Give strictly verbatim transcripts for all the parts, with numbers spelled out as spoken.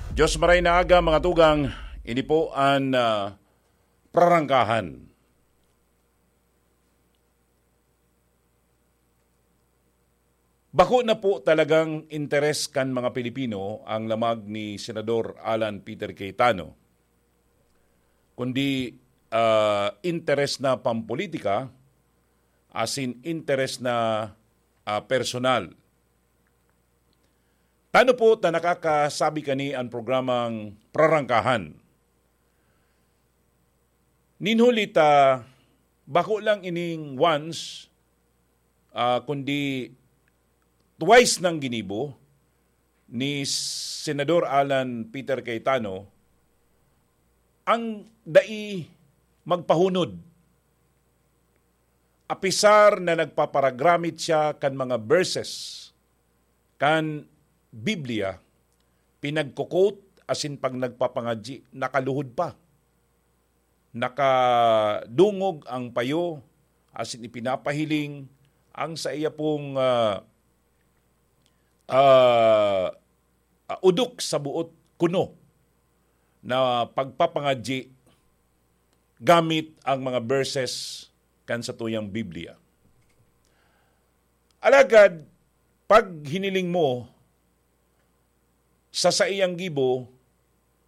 Diyos maray na aga, mga tugang, ini po an, ah, prarangkahan. Bako na po talagang interes kan mga Pilipino ang lamag ni Senador Alan Peter Cayetano, kundi, ah, interes na pampolitika, asin interes na, ah, personal. Tano po ta nakakasabi kani an programang Prarangkahan. Nin huli ta, bako lang ining once, ah, kundi twice nang ginibo ni Senador Alan Peter Cayetano ang dai magpahunod. Apisar na nagpaparagramit siya kan mga verses kan Biblia, pinagko-quote asin pag nagpapangadyi, nakaluhod pa. Nakadungog ang payo asin ipinapahiling ang saiya pong, ah, ah, ah, udok sa boot kuno na pagpapangadyi gamit ang mga verses kan satuyang Biblia. Alagad, pag hiniling mo sa saiyang gibo,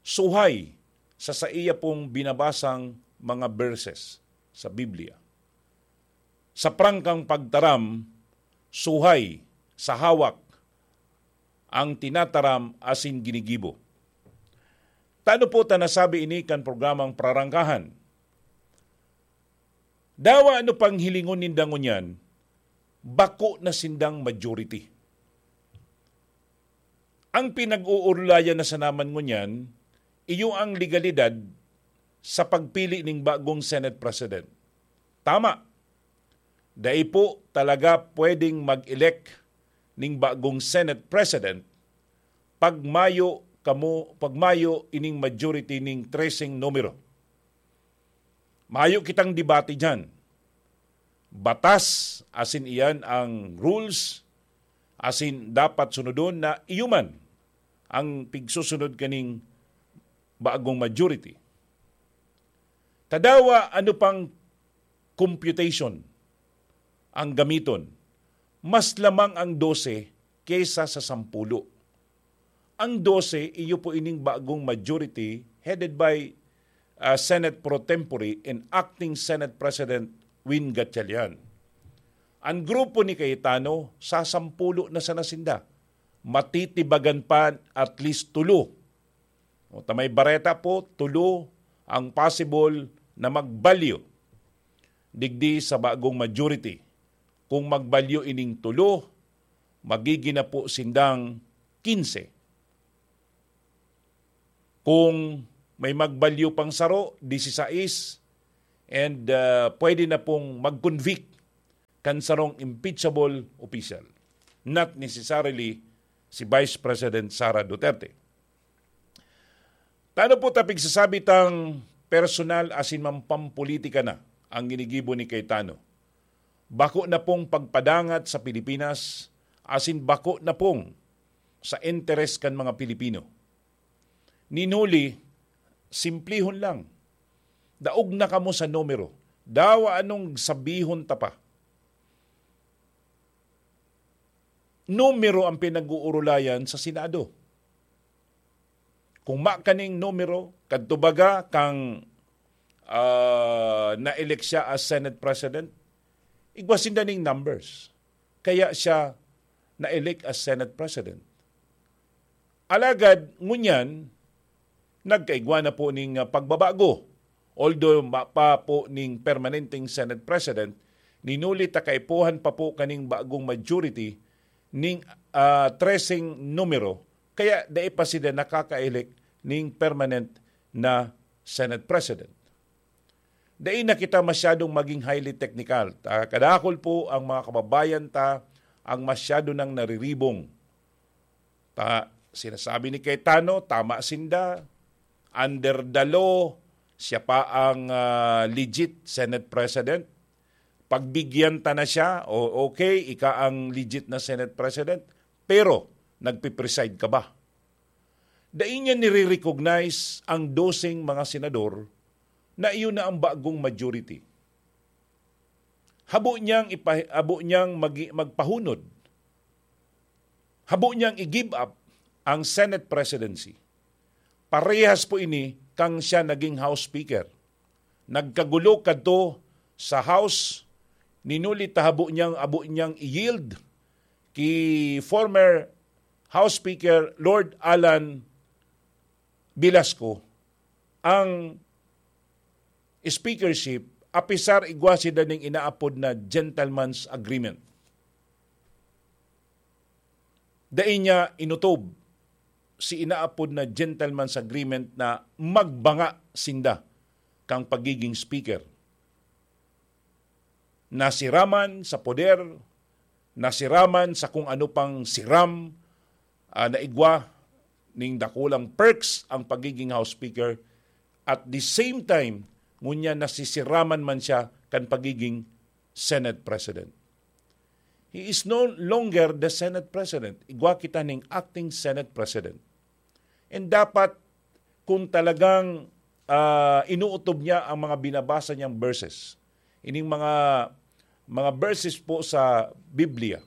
suhay sa saiya pong binabasang mga verses sa Biblia. Sa prangkang pagtaram, suhay sa hawak ang tinataram asin ginigibo. Tano po ta nasabi ini kan programang Prarangkahan? Dawa ano pang hilingon ninda ngunyan, bako na sindang majority. Ang pinag-uurulayan na sanaman ngunyan, iyo ang legalidad sa pagpili ning bagong Senate President. Tama, dai po talaga pwedeng mag-elect ning bagong Senate President pag mayo kamo, pag mayo ining majority ning treseng numero. Mayo kitang debate diyan. Batas, asin iyan ang rules, asin dapat sunodon na iyo man ang pigsusunod kaning bagong majority. Tadawa, ano pang computation ang gamiton? Mas lamang ang dose kaysa sa sampulo. Ang dose, iyo po ining bagong majority headed by, ah, Senate Pro Tempore and Acting Senate President Win Gatchalian. Ang grupo ni Cayetano, sasampulo na sana sinda. Matitibagan pa at least tulo. O, ta may bareta po, tulo ang possible na magbalyo digdi sa bagong majority. Kung magbalyo ining tulo, magigin na po sindang kinse. Kung may magbalyo pang saro, disisais, and, ah, pwede na pong mag-convict kan sarong impeachable official, not necessarily si Vice President Sara Duterte. Tano po ta pigsasabi tang personal asin mampampolitika na ang ginigibo ni Cayetano. Bako na pong pagpadangat sa Pilipinas asin bako na pong sa interes kan mga Pilipino. Nin huli, simplihon lang. Daog na kamo sa numero. Dawa anong sabihon ta pa. Numero ang pinag-uurulayan sa Senado. Kung makaning numero, kadto baga kang, ah, na-elect siya as Senate President, igwa sinda ning numbers. Kaya siya na-elect as Senate President. Alagad, ngunyan, nagkaigwa na po ning, ah, pagbabago. Although ma-, pa po ning permanenteng Senate President, ninuli ta kaipuhan pa po kaning bagong majority ning, ah, treseng numero, kaya dai pa sila nakaka-elect ning permanent na Senate President. Dai na kita masyadong maging highly technical. Ta-, kadakol po ang mga kababayan ta ang masyado nang nariribong. Ta-, sinasabi ni Cayetano, tama sinda. Under the law, siya pa ang, ah, legit Senate President. Pagbigyan ta na siya, o okay, ika ang legit na Senate President, pero nagpipreside ka ba? Dai niya nire-recognize ang doseng mga senador na iyon na ang bagong majority. Habo niyang ipa-, habo niyang magi-, magpahunod. Habo niyang i-give up ang Senate presidency. Parehas po ini kang siya naging House Speaker. Nagkagulo kadto sa House, ninuli ta habo niyang, habo niyang i-yield ki former House Speaker Lord Alan Velasco ang speakership, apisar igwa sinda ning inaapod na gentleman's agreement. Dai niya inutob si inaapod na gentleman's agreement na magbanga sinda kan pagiging speaker. Nasiraman sa poder, nasiraman sa kung ano pang siram, ah, na igwa ning dakulang perks ang pagiging House Speaker. At the same time, ngunyan nasisiraman man siya kan pagiging Senate President. He is no longer the Senate President. Igwa kita ning acting Senate President. And dapat, kung talagang, ah, inuutob niya ang mga binabasa niyang verses, ining mga, mga verses po sa Biblia,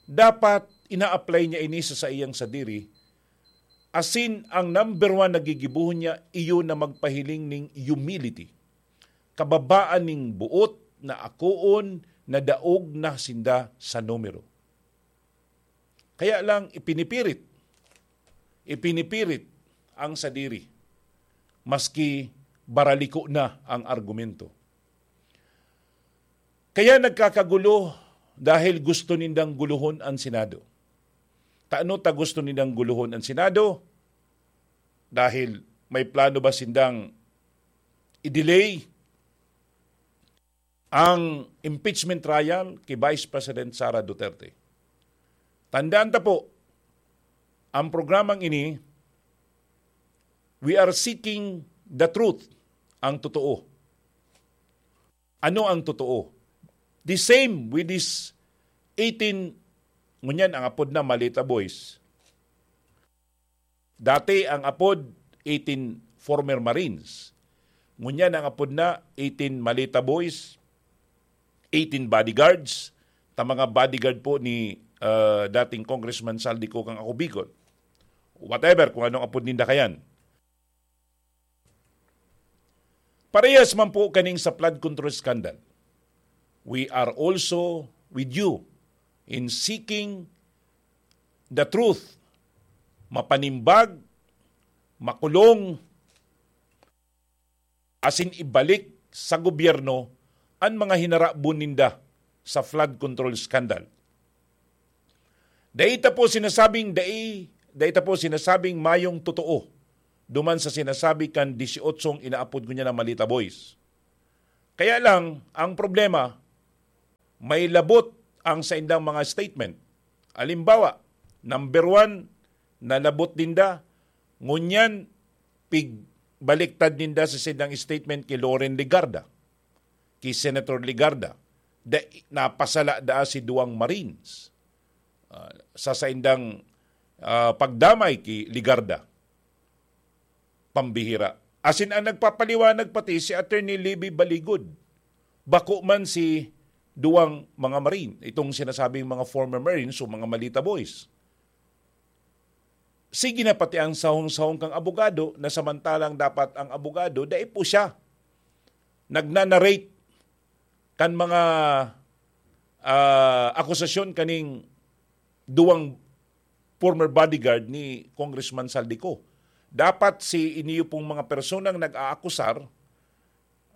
dapat ina-apply niya ini sa saiyang sadiri, asin ang number one na gigibohon niya, iyo na magpahiling ning humility. Kababaan ning boot na akoon na daog na sinda sa numero. Kaya lang ipinipirit, ipinipirit ang sadiri, maski baraliko na ang argumento. Kaya nagkakagulo dahil gusto nindang guluhon ang Senado. Tano ta gusto nindang guluhon ang Senado? Dahil may plano ba sindang i-delay ang impeachment trial ki Vice President Sara Duterte? Tandaan ta po, ang programang ini, we are seeking the truth, ang totoo. Ano ang totoo? The same with this eighteen, ngunyan ang apod na Maleta Boys. Dati ang apod, eighteen former Marines. Ngunyan ang apod na, eighteen Maleta Boys, eighteen bodyguards, ta mga bodyguard po ni, ah, dating Congressman Zaldy Co kang ako Bicol. Whatever, kung anong apod ninda kayan. Parehas man po kaning sa flood control scandal. We are also with you in seeking the truth. Mapanimbag, makulong, asin ibalik sa gobyerno an mga hinarabon ninda sa flood control scandal. Dai ta po sinasabing dai, dai ta po sinasabing mayong totoo duman sa sinasabi kan disiyotsong inaapod ko niya na Maleta Boys. Kaya lang, ang problema, may labot ang saindang mga statement. Halimbawa, number one, nalabot ninda, ngunyan, pigbaliktad ninda sa saindang statement ki Loren Legarda, ki Senator Legarda, da, napasala daa si duwang Marines, ah, sa saindang, ah, pagdamay ki Legarda. Pambihira. Asin ang nagpapaliwanag pati si Attorney Libby Baligod. Bako man si duwang mga Marine, itong sinasabing mga former Marines o mga Maleta Boys. Sige na pati ang sahong-sahong kang abogado, na samantalang dapat ang abogado, dai po siya nagnanarrate kan mga, ah, akusasyon kaning duwang former bodyguard ni Congressman Zaldy Co. Dapat si iniyo pong mga personang nag-aakusar,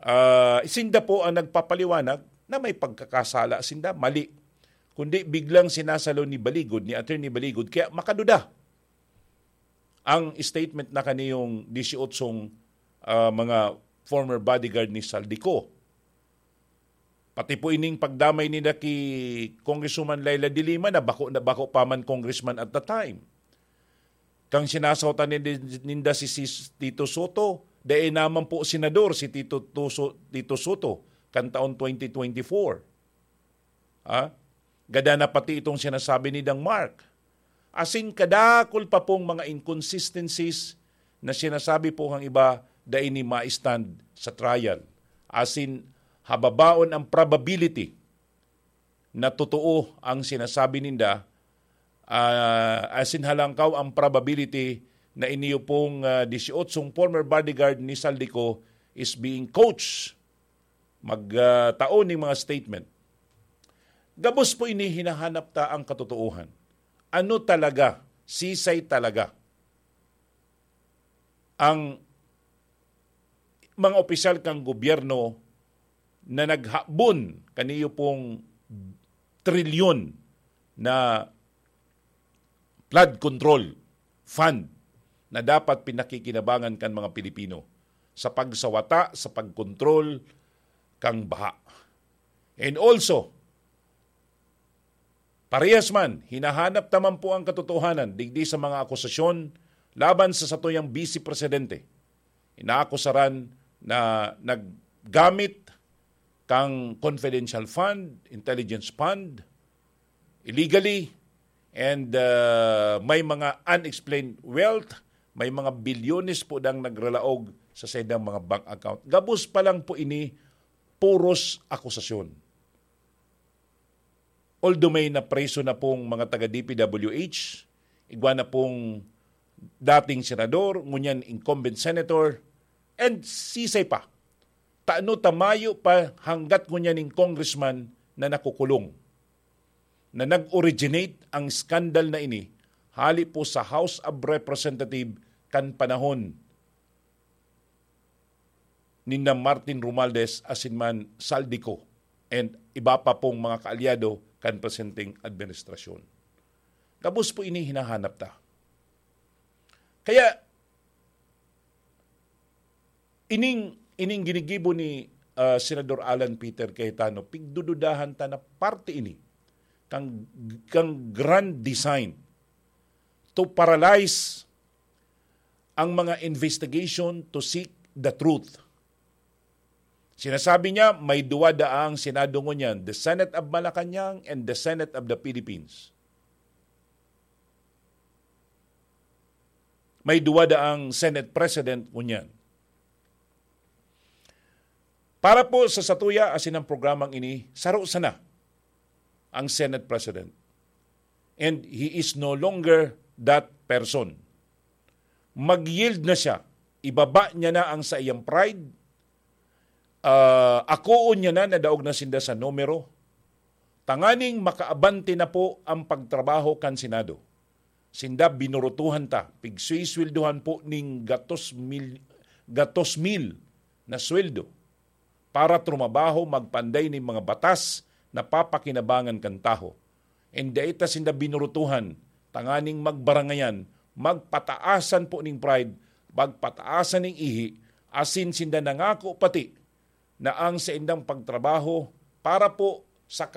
ah, sinda po ang nagpapaliwanag na may pagkakasala sinda, mali. Kundi biglang sinasalo ni Baligod, ni Attorney Baligod, kaya makaduda ang statement na kaniyong disyotsong, ah, mga former bodyguard ni Zaldy Co. Pati po ining pagdamay nila ki Congresswoman Leila de Lima na bako na bako pa man congressman at the time. Kang sinasautan ni-, ninda si, si Tito Sotto, dai naman po senador si Tito Tuso-, Tito Sotto kan taon twenty twenty-four. Ah? Gada na pati itong sinasabi ni Dang Mark. Asin kadakul pa pong mga inconsistencies na sinasabi po ng iba, dai ni ma-stand sa trial. Asin hababaon ang probability na totoo ang sinasabi ninda, ah, asin halangkaw ang probability na iniyo pong, ah, dieciocho former bodyguard ni Zaldy Co is being coached mag, ah, tao ning mga statement. Gabos po ini, hinahanap ta ang katotoohan. Ano talaga, sisay talaga ang mga opisyal kan gobyerno na naghabon kaniyo pong trilyon na flood control fund na dapat pinakikinabangan kan mga Pilipino sa pagsawata, sa pagkontrol kang baha. And also, parehas man, hinahanap ta man po ang katotohanan digdi sa mga akusasyon laban sa satuyang Vice Presidente. Inaakusaran na naggamit kang confidential fund, intelligence fund, illegally, and, uh, may mga unexplained wealth, may mga bilyones po dang nagralaog sa saindang mga bank account. Gabos pa lang po ini, puros akusasyon. Although may napreso na pong mga taga D P W H, igwa na pong dating senador, ngunyan incumbent senator, and sisay pa. Tano ta mayo pa hanggat ngunyan ning congressman na nakukulong, na nag-originate ang skandal na ini hali po sa House of Representative kan panahon ninda Martin Romualdez asin man Zaldy Co and iba pa pong mga kaalyado kan presenteng administrasyon. Gabos po ini hinahanap ta. Kaya, ining, ining ginigibo ni, ah, Senador Alan Peter Cayetano, pigdududahan ta na parte ini kang, kang grand design to paralyze ang mga investigation to seek the truth. Sinasabi niya, may duwa daang Senado ngunyan, the Senate of Malacañang and the Senate of the Philippines. May duwa daang Senate President ngunyan. Para po sa satuya asin ang programang ini, saro sana ang Senate President. And he is no longer that person. Mag-yield na siya. Ibaba niya na ang saiyang pride. Ah, akoon niya na na daog na sinda sa numero. Tanganing makaabante na po ang pagtrabaho kan Senado. Sinda binurutuhan ta, pigsuisweldohan po ning gatos mil, gatos mil na sweldo para trumabaho, magpanday nin mga batas na papakinabangan kan tawo. And dai ta sinda binurutuhan tanganing magbarangayan, magpataasan po ning pride, magpataasan ning ihi, asin sinda nangako pati na ang saindang pagtrabaho para po sa